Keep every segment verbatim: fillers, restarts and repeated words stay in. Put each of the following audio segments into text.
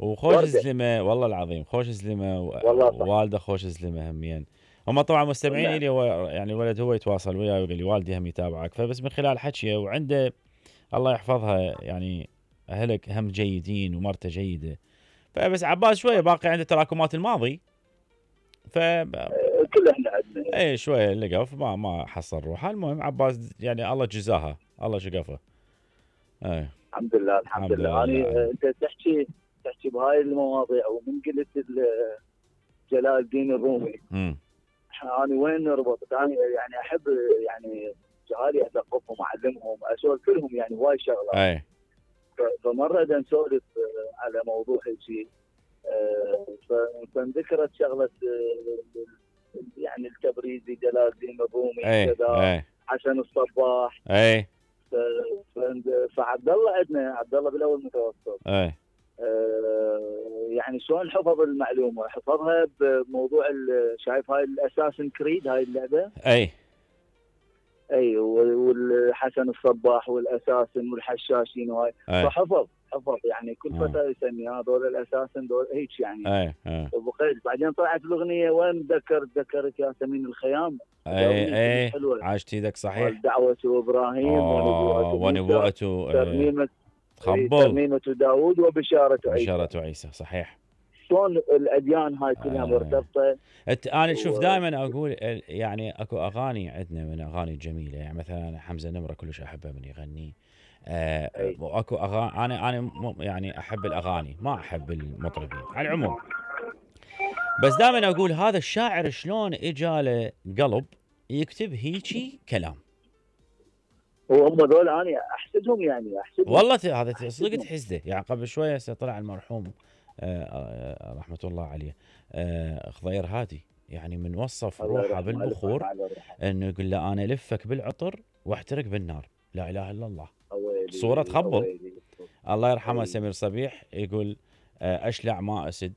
وخوش وردة. زلمه والله العظيم، خوش زلمه والله صح. ووالده خوش زلمه همين. هم طبعا مستمعين نعم. الي، هو يعني الولد هو يتواصل وياي ويقول لي والدي هم يتابعك، فبس من خلال حكيه وعنده الله يحفظها يعني اهلك هم جيدين ومرته جيده، فبس عباس شويه باقي عنده تراكمات الماضي، ف آه، كل احنا عندنا. اي شويه لقف ما ما حصل روحه. المهم عباس يعني الله جزاها الله شقفه. اي الحمد لله الحمد الحمد لله. لله. انا انت تحكي تحكي بهاي المواضيع ومن قلت ال- جلال الدين الرومي، امم انا وين ربطت؟ انا يعني احب يعني جهالي اثقفهم اعلمهم اسولف لهم يعني هواي شغلات. اي ف- فمره بدنا نسولف آه، على موضوع هيك آه، ف- فانذكرت شغله آه، يعني التبريزي جلال الدين الرومي اي كذا، اي حسن الصباح. اي ف- ف- فعبد الله عندنا عبد الله بالاول متوسط. اي آه، يعني شلون حفظ المعلومه؟ حفظها بموضوع ال- شايف هاي الاساسن كريد هاي اللعبه؟ اي اي والحسن الصباح والاساسن والحشاشين وهاي، اي فحفظ حفظ يعني كل آه. فتره يسمي هذول الاساسن دول هيك يعني. اي اي وبقيت بعدين طلعت الاغنيه وين ذكر ذكرت ياسمين الخيام. اي اغنيه كلش اي حلوه عاشت ايدك صحيح. مال دعوه ابراهيم اه ونبوءه موسى، ونبوءته ترنيمه إي، تخبل ترنيمه داوود وبشاره عيسى. بشارة عيسى صحيح. شلون الاديان هاي كلها آه. مرتبطه. أت- انا شوف و- دائما اقول ال- يعني اكو اغاني عندنا من اغاني جميله، يعني مثلا حمزه نمره كلش احبه من يغني. آه أي. واكو اغاني انا انا م- يعني احب الاغاني ما احب المطربين على العموم، بس دائما اقول هذا الشاعر شلون اجاله قلب يكتب هيجي كلام. وهم ذول انا احسدهم يعني احسدهم والله ت- هذا ت- صدق أحسدهم. تحسده. يعني قبل شويه هسه طلع المرحوم آه، آه، رحمه الله عليه آه، خضير هادي، يعني من وصف الله روحه يرحمه، ألف بالبخور رحمة على روحه. انه يقول له انا الفك بالعطر واحترق بالنار، لا اله الا الله. أويلي صوره تخبل. أويلي. الله يرحمه أي. سمير صبيح يقول آه، اشلع ما اسد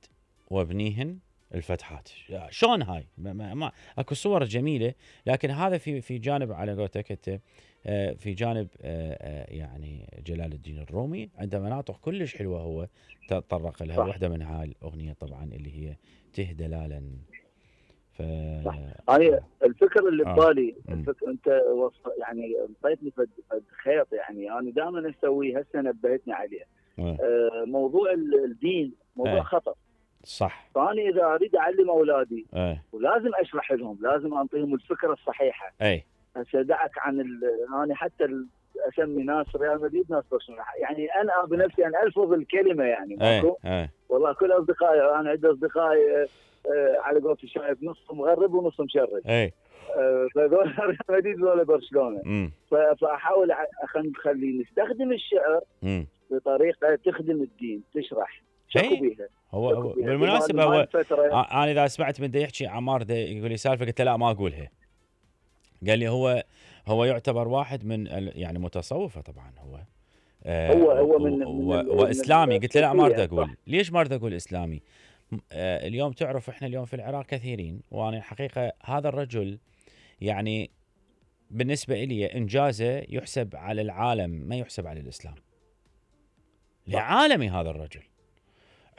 وابنيهن الفتحات. شلون هاي ما, ما, ما اكو صور جميله، لكن هذا في في جانب على قولتك انت آه، في جانب آه، آه، يعني جلال الدين الرومي عنده مناطق كلش حلوه هو تطرق لها. صح. واحده من هاي الاغنيه طبعا اللي هي تهدلالا. ف صح. أنا الفكر اللي آه. ببالي مم. الفكر انت وصف يعني انطيتني فد فد خيط يعني انا دائما اسويه هسه نبهتني عليه. آه. آه موضوع ال- الدين موضوع آه. خطر. صح. فانا اذا اريد اعلم اولادي اي ولازم اشرح لهم، لازم انطيهم الفكره الصحيحه. اي هسه دعك عن ال- انا حتى ال- اسمي ناس ريال مدريد ناس برشلونه، يعني انا بنفسي انا الفظ الكلمه يعني اي ماكو. اي والله كل اصدقائي انا عندي اصدقائي آه، آه، على قولتي شايف نصهم مغرب ونصهم مشرد. اي آه، فذول ريال مدريد ولا برشلونه. امم ف- فاحاول اخلي نستخدم الشعر امم بطريقه تخدم الدين، تشرح شكو إي. بيها. هو, شكو هو بيها. بالمناسبه بهاي هو الفترة آه، انا اذا سمعت من دا يحكي عمار دا يقول لي سالفه قلت له لا ما اقولها. قال لي هو هو يعتبر واحد من ال- يعني متصوفه طبعا هو آه هو هو من, و- من و- ال- واسلامي. من قلت له لا ما اريد الصوفية، اقول. صح. ليش ما اريد اقول اسلامي؟ م- آه اليوم تعرف احنا اليوم في العراق كثيرين، وانا الحقيقه هذا الرجل يعني بالنسبه لي انجازه يحسب على العالم ما يحسب على الاسلام. لعالمي هذا الرجل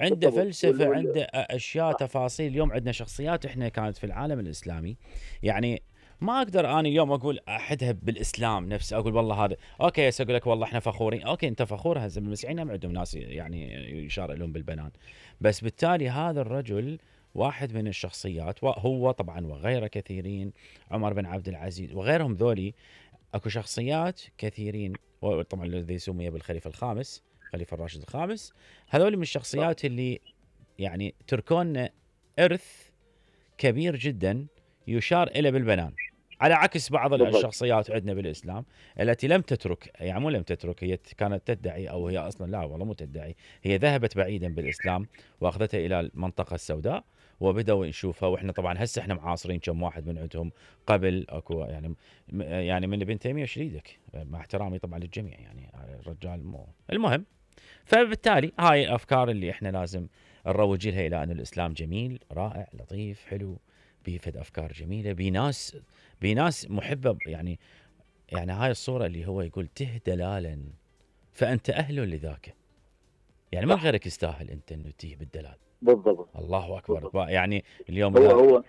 عنده بالضبط. فلسفه، وال- وال- عنده اشياء صح. تفاصيل. اليوم عندنا شخصيات احنا كانت في العالم الاسلامي، يعني ما اقدر انا اليوم اقول احدها بالاسلام نفس اقول والله هذا اوكي. هسه اقول لك والله احنا فخورين، اوكي انت فخور. هسه المسيحيين هم عندهم ناس يعني يشار لهم بالبنان، بس بالتالي هذا الرجل واحد من الشخصيات، وهو طبعا وغيره كثيرين، عمر بن عبد العزيز وغيرهم ذولي. اكو شخصيات كثيرين، وطبعا الذي سمي بالخليفه الخامس خليفه الراشد الخامس، هذول من الشخصيات اللي يعني تركون إرث كبير جدا يشار إلى بالبنان، على عكس بعض بالضبط. الشخصيات عندنا بالإسلام التي لم تترك، يعني مو لم تترك، هي كانت تدعي أو هي أصلا لا والله مو تدعي، هي ذهبت بعيدا بالإسلام وأخذتها إلى المنطقة السوداء وبدأوا نشوفها. وإحنا طبعا هسه إحنا معاصرين كم واحد من عندهم قبل أكو يعني يعني من ابن تيمية شريدك، مع احترامي طبعا للجميع يعني الرجال مو المهم. فبالتالي هاي الافكار اللي احنا لازم نروج لها الى ان الاسلام جميل رائع لطيف حلو، بيفد افكار جميله، بناس بناس محبه. يعني يعني هاي الصوره اللي هو يقول ته دلالا فانت اهل لذاك. يعني من صح. غيرك يستاهل انت انه تيه بالدلال. بالضبط. الله اكبر. بالضبط. يعني اليوم هو هو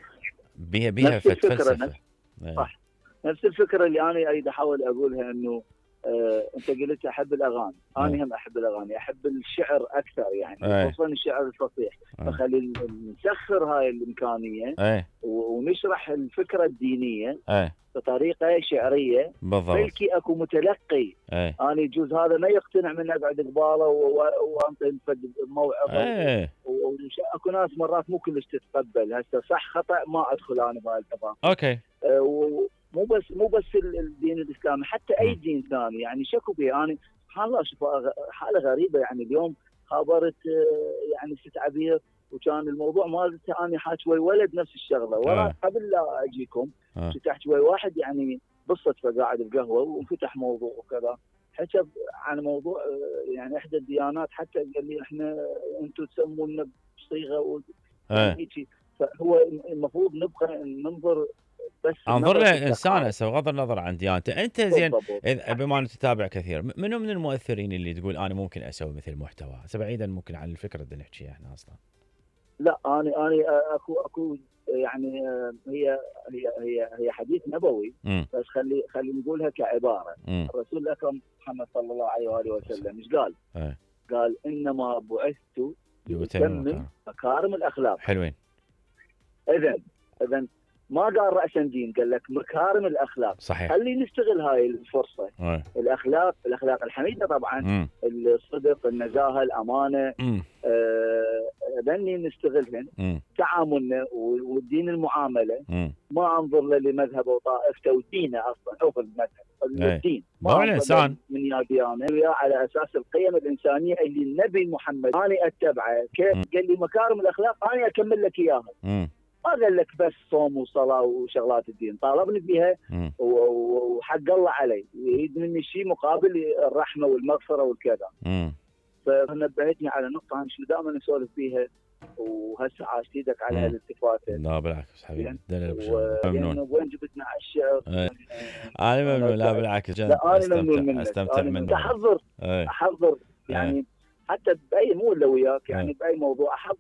بيها بيها نفس الفكره فلسفه. نفس صح نفس الفكره اللي انا اريد احاول اقولها، انه آه انت قلت احب الاغاني، انا هم احب الاغاني، احب الشعر اكثر يعني، خصوصا الشعر الفصيح. فخلي نسخر هاي الامكانيه أي. ونشرح الفكره الدينيه أي. بطريقه شعريه. بالضبط. بلكي اكو متلقي أي. انا يجوز هذا ما يقتنع من اقعد قباله وانطي موعظه، واكو ناس مرات مو كلش تتقبل. هسه صح خطا ما ادخل انا بهاي التفاصيل. اوكي. أه مو بس مو بس الدين الاسلامي، حتى اي دين ثاني يعني شكو به. انا سبحان الله اشوف حاله غريبه. يعني اليوم خابرت يعني ست عبير، وكان الموضوع مالته انا حاكي ويا ولد نفس الشغله، ورا قبل لا اجيكم فتحت ويا واحد يعني بالصدفه قاعد بقهوه وفتح موضوع وكذا، حكى عن موضوع يعني احدى الديانات، حتى قال لي احنا انتم تسمونا بصيغه هيك. فهو المفروض نبقى ننظر بس انظر للانسان هسه بغض النظر عن ديانته. انت زين بالضبط. بما انك تتابع كثير، منو من المؤثرين اللي تقول انا ممكن اسوي مثل محتوى هسه بعيدا ممكن عن الفكره اللي نحكيها احنا اصلا؟ لا انا انا اكو اكو يعني هي هي هي هي حديث نبوي، م. بس خلي خلي نقولها كعباره. م. الرسول الاكرم محمد صلى الله عليه واله وسلم ايش قال؟ أي. قال انما بعثت لأتمم مكارم الاخلاق. حلوين. اذا اذا ما قال رأسا دين، قال لك مكارم الاخلاق. صحيح. خلي نستغل هاي الفرصه. أي. الاخلاق الاخلاق الحميده طبعا، م. الصدق، النزاهه، الامانه، ذني آه نستغلهن. م. تعاملنا والدين المعامله. م. ما انظر لمذهبه وطائفته ودينه اصلا، او المذهب الدين ما الانسان من يا ديانه ويا على اساس القيم الانسانيه اللي النبي محمد انا اتبعه. كيف قال لي مكارم الاخلاق انا اكمل لك اياها. م. ما قال لك بس صوم وصلاه وشغلات الدين، طالبني فيها وحق الله علي، يريد مني شيء مقابل الرحمه والمغفره والكذا. فنبهتني على نقطه انا شو دائما نسولف فيها، وهسه عاشت ايدك على هالالتفاته. لا بالعكس حبيبي، ممنون. وين جبتنا على الشعر؟ انا ممنون. لا بالعكس، لا انا ممنون منك. استمتع منك. احضر احضر يعني حتى باي مو الا وياك، يعني باي موضوع احضر